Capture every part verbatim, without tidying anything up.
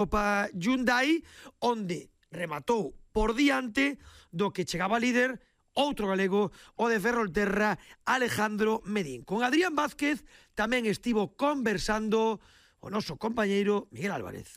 Copa Hyundai, onde rematou por diante do que chegaba líder outro galego, o de Ferrolterra, Alejandro Medín. Con Adrián Vázquez tamén estivo conversando o noso compañeiro Miguel Álvarez.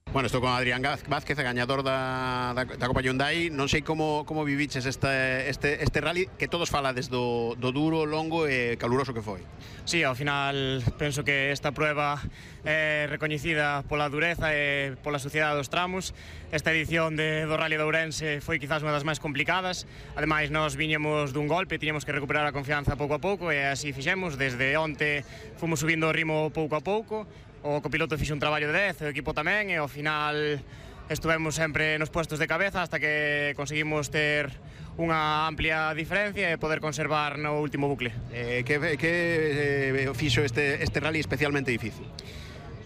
Bueno, estou con Adrián Vázquez, gañador da, da, da Copa Hyundai. Non sei como, como viviches este, este, este rally, que todos falades do, do duro, longo e caluroso que foi. Sí, ao final penso que esta prueba é recoñecida pola dureza e pola suciedade dos tramos. Esta edición de, do Rally de Ourense foi quizás unha das máis complicadas. Ademais, nós viñemos dun golpe, tiñamos que recuperar a confianza pouco a pouco e así fixemos. Desde onte fomos subindo o ritmo pouco a pouco. O copiloto fixe un traballo de dez, o equipo tamén, e ao final estuvemos sempre nos puestos de cabeza hasta que conseguimos ter unha amplia diferencia e poder conservar no último bucle. Eh, que que eh, fixo este, este rally especialmente difícil?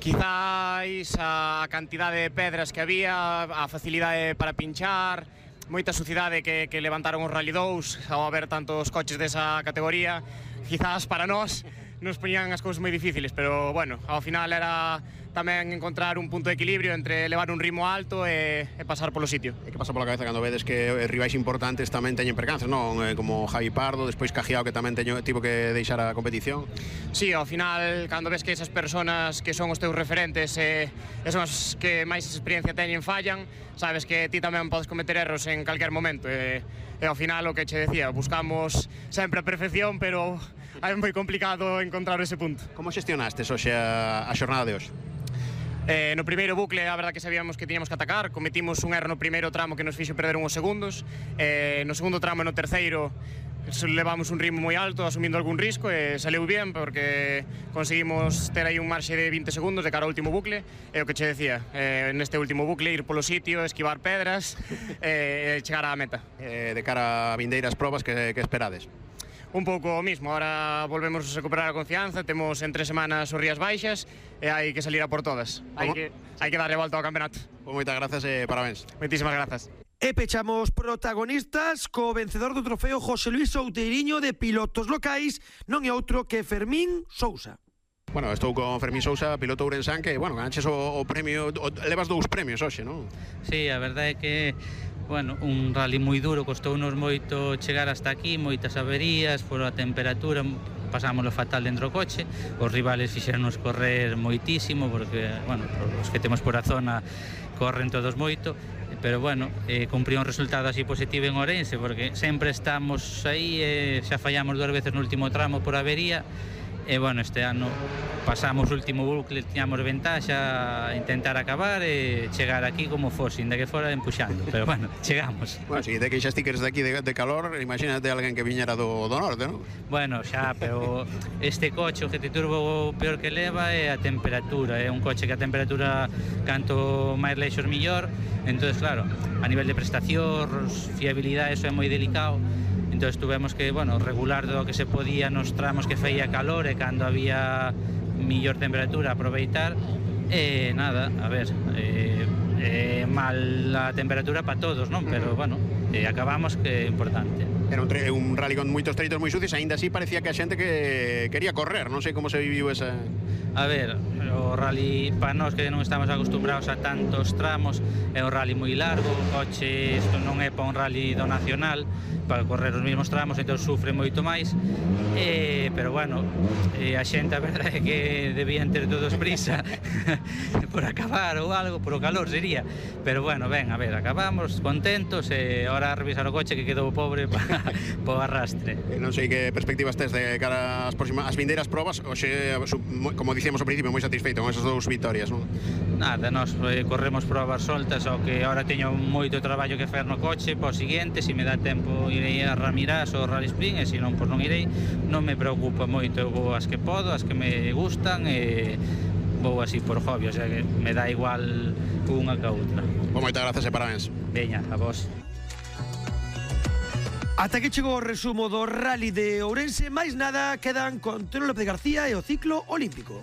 Quizáis a cantidade de pedras que había, a facilidade para pinchar, moita sucidade que, que levantaron os Rally dous ao haber tantos coches desa categoría. Quizás para nós nos poñían as cousas moi difíciles, pero bueno, ao final era tamén encontrar un punto de equilibrio entre levar un ritmo alto e, e pasar polo sitio. E que pasa pola cabeza cando vedes que rivais importantes tamén teñen percances, non? Como Javi Pardo, despois Cajiao, que tamén teño, tivo que deixar a competición. Sí, ao final, cando ves que esas personas que son os teus referentes e, e son as que máis experiencia teñen fallan, sabes que ti tamén podes cometer erros en calquer momento. E, e ao final, o que che decía, buscamos sempre a perfección, pero é moi complicado encontrar ese punto. Como xestionastes hoxe a, a xornada de hoxe? Eh, no primeiro bucle, a verdad que sabíamos que tiñamos que atacar. Cometimos un erro no primeiro tramo que nos fixo perder uns segundos. eh, No segundo tramo e no terceiro levamos un ritmo moi alto, asumindo algún risco, e saleu bien porque conseguimos ter aí un marxe de vinte segundos de cara ao último bucle. E o que che decía, eh, neste último bucle ir polo sitio, esquivar pedras e eh, chegar á meta. Eh, de cara a vindeiras probas, que, que esperades? Un pouco o mismo, ahora volvemos a recuperar a confianza, temos en tres semanas os Rías Baixas e hai que salir a por todas. Hai que, hai que darle volta ao campeonato. Pues moitas grazas e parabéns. Moitísimas grazas. E pechamos protagonistas co vencedor do trofeo José Luis Outeiriño de pilotos locais, non é outro que Fermín Sousa. Bueno, estou con Fermín Sousa, piloto ourensán, que, bueno, ganches o, o premio, o, levas dous premios hoxe, non? Sí, a verdade é que, bueno, un rally moi duro, costounos moito chegar hasta aquí, moitas averías, por a temperatura, pasámoslo fatal dentro do coche, os rivales fixeronos correr moitísimo, porque, bueno, os que temos por a zona corren todos moito, pero, bueno, eh, cumpriu un resultado así positivo en Ourense, porque sempre estamos aí, eh, xa fallamos dúas veces no último tramo por avería, e, bueno, este ano pasamos o último bucle, tiñamos ventaxa a intentar acabar e chegar aquí como fose, inda que fora empuxando, pero, bueno, chegamos. Bueno, si te queixas ti que eres de aquí de, de calor, imagínate alguén que viñera do, do norte, non? Bueno, xa, pero este coche, o G T Turbo, o peor que leva é a temperatura, é un coche que a temperatura canto máis leixos millor, entón, claro, a nivel de prestacións, fiabilidade, eso é moi delicado. Entón tuvemos que, bueno, regular do que se podía nos tramos que feía calor e cando había millor temperatura aproveitar. E nada, a ver, eh, eh, mal a temperatura para todos, non? Pero, bueno, eh, acabamos, que é importante. Era un, un rally con moitos treitos moi sucios, aínda así parecía que a xente que quería correr, non sei como se viviu esa... A ver, o rally para nós que non estamos acostumbrados a tantos tramos, é un rally moi largo, o coche, isto non é para un rally do nacional, para correr os mesmos tramos, entón sufre moito máis, e, pero, bueno, e a xente, a verdade é que debían ter todos prisa por acabar ou algo, por o calor sería, pero, bueno, ben, a ver, acabamos contentos, e ahora a revisar o coche que quedou pobre para po arrastre. Non sei que perspectivas tes de cara ás próximas as vindeiras probas, hoxe, como dicíamos ao principio, moi satisfeito con esas dous vitorias, non? Nada, nós eh, corremos probas soltas, ao que ahora teño moito traballo que fer no coche, po seguinte, se me dá tempo irei a Ramirás ou Rally Sprint, e se non, pois non irei, non me preocupa moito, eu vou as que podo, as que me gustan, e vou así por hobby, o sea que me dá igual unha que a outra. Pois moitas grazas e parabéns. Veña, a vos. Ata que chegou o resumo do Rally de Ourense, máis nada, quedan con Tero López García e o ciclo olímpico.